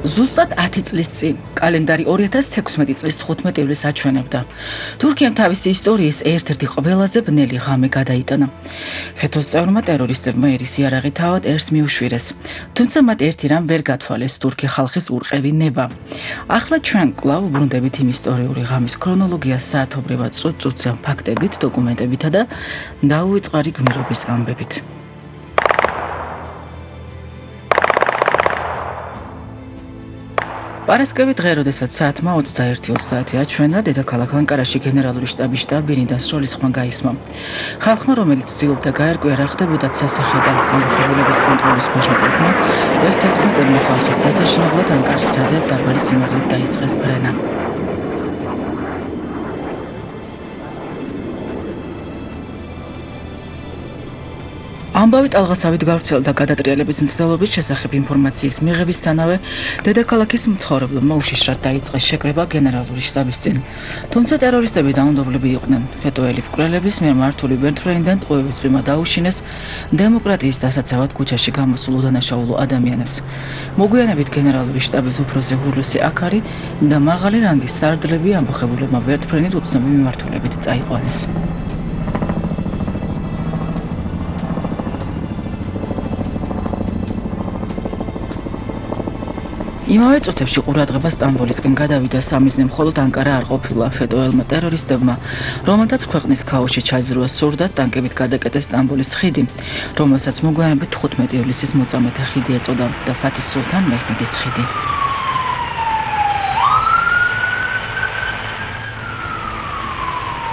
ზუსტად 10 წლის წინ, კალენდარი 2016 წლის 15 ივლისს აჩვენებდა. თურქიამ თავისი ისტორიის ერთ-ერთი ყველაზე ბნელი ღამე გადაიტანა. ხეთოს წევრმა ტერორისტებმა ერის იარაღი თავად ერს მიუშვირეს. თუმცა მათ ერთი რამ ვერ გათვალეს თურქი ხალხის ურყევი ნება. ახლა ჩვენ კვლავ ვბრუნდებით იმ ისტორიული ღამის ქრონოლოგიას საათობრივად წუწუწე ფაქტებით, დოკუმენტებითა და დაუვიწყარი გმირობის ამბებით. პარასკევი დღე, როდესაც საათმა 21:30 აჩვენა, დედაქალაქ ანკარაში გენერალური შტაბის შტაბ-ბინი და სროლის ხმა გაისმა. ხალხმა, რომელიც ცდილობდა გაერკვია, რა ხდებოდათ სასახლიდან, ამოხებულების კონტროლის ქვეშ მყოფმა, F-16-ებმა ხალხის დასაშინებლად ანკარისაზე დაბალი სიმაღლით დაიწყეს ბრენა. ამბავი ტალღასავით გავრცელდა გადატრიალების მცდელობის შესახებ ინფორმაციის მიღებისთანავე, დედაქალაქის მცხოვრებლებმა უშიშრად დაიწყეს შეკრება გენერალური შტაბის წინ. თუმცა ტერორისტები დაუნდობლები იყვნენ. ფეტოელი მკვლელების მიერ მართული ვერტფრენიდან ტყვევით წვიმა დაუშინეს დემოკრატიის დასაცავად ქუჩაში გამოსულ უდანაშაულო ადამიანებს. მოგვიანებით გენერალური შტაბის უფროსი ჰულუსი აქარი და მაღალი რანგის სარდლები ამბოხებულებმა ვერტფრენით უცნობი მიმართულებით წაიყვანეს. იმავე წუთებში ყურადღება სტამბოლისკენ გადავიდა სამიზნე მხოლოდ ანკარა არ ყოფილა ფეტოელმა ტერორისტებმა, რომელთაც ქვეყნის ქაოსში ჩაძროვა სურდათ ტანკებით გადაკეტეს სტამბოლის ხიდი, რომელსაც მოგვიანებით 15 ივლისის მოწამეთა ხიდი ეწოდა და ფათის სულთან მეჰმედის ხიდი.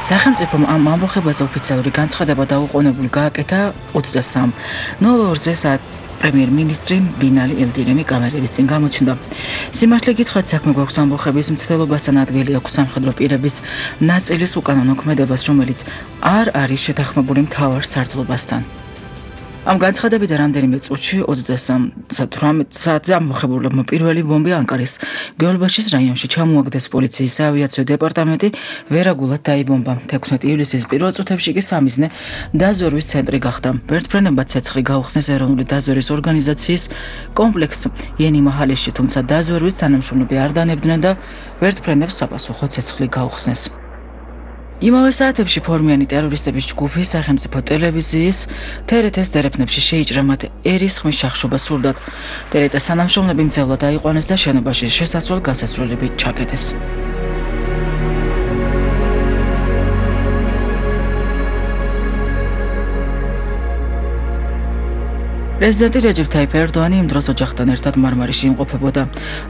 სახელმწიფომ ამ ამბოხებაზე ოფიციალური განცხადება დაუყოვნებლივ გააკეთა 23:02-ზე საათ პრემიერ-მინისტრი ბინალი ელდირემი კამერების წინ გამოჩნდა. სიმართლე გითხრათ, საქმე გვაქვს ამბოხების მცდელობასთან, ადგილი აქვს სამხედრო პირების ნაწილის უკანონო ქმედებას, რომელიც არ არის შეთანხმებული მთავარ სარდლობასთან. ამ განცხადებიდან რამდენიმე წუთში 23:18 საათზე ამბოხებულებმა პირველი ბომბი ანკარის გეოლბაშის რაიონში ჩამოაგდეს. პოლიციის საავიაციო დეპარტამენტი ვერაგულად დაიბომბა. 16 ივლისის პირველ წუთებში კი სამიზნე დაზვერვის ცენტრი გახდა. ვერტფრენებმა ცეცხლი გაუხსნეს ეროვნული დაზვერვის ორგანიზაციის კომპლექს იენი მაჰალეში, თუმცა დაზვერვის თანამშრომლები არ დანებდნენ და ვერტფრენებს საპასუხო ცეცხლი გაუხსნეს. იმავე საათებში ფორმიანი ტერორისტების ჯგუფი სახელმწიფო ტელევიზიის TRT-ს დერეფნებში შეიჭრა, მათ ერის ხმის შახშობა სურდათ. TRT-ს თანამშრომლები მძევლად აიყვანეს და შენობაში შესასვლელ-გასასვლელები ჩაკეტეს. პრეზიდენტი რეჯეფ თაიფ ერდოანი იმ დროს ოჯახთან ერთად მარმარიში იმყოფებოდა.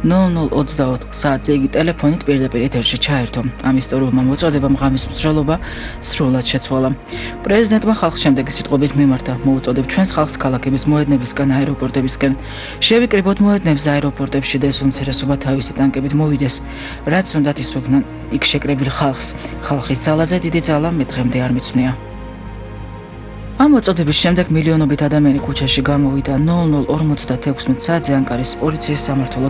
00:24 საათზე იგი ტელეფონით პირდაპირ ეთერში ჩაერთო. ამ ისტორიულმა მოწოდებამ ღამის მსვლელობა სრულად შეცვალა. პრეზიდენტმა ხალხს შემდეგი სიტყვებით მიმართა: მოუწოდებ ჩვენს ხალხს ქალაქების მოედნებისგან, აეროპორტებისკენ. შევიკრიბოთ მოედნებს აეროპორტებში და ეს უმცირესობა თავისი ტანკებით მოვიდეს. რაც უნდათ ისუქნან იქ შეკრებილ ხალხს. ხალხის ძალაზე დიდი ძალა მე დღემდე არ მიცვნია. ამ მოწოდების შემდეგ მილიონობით ადამიანი ქუჩაში გამოვიდა. 00:56 საათზე ანკარის პოლიციის სამმართველო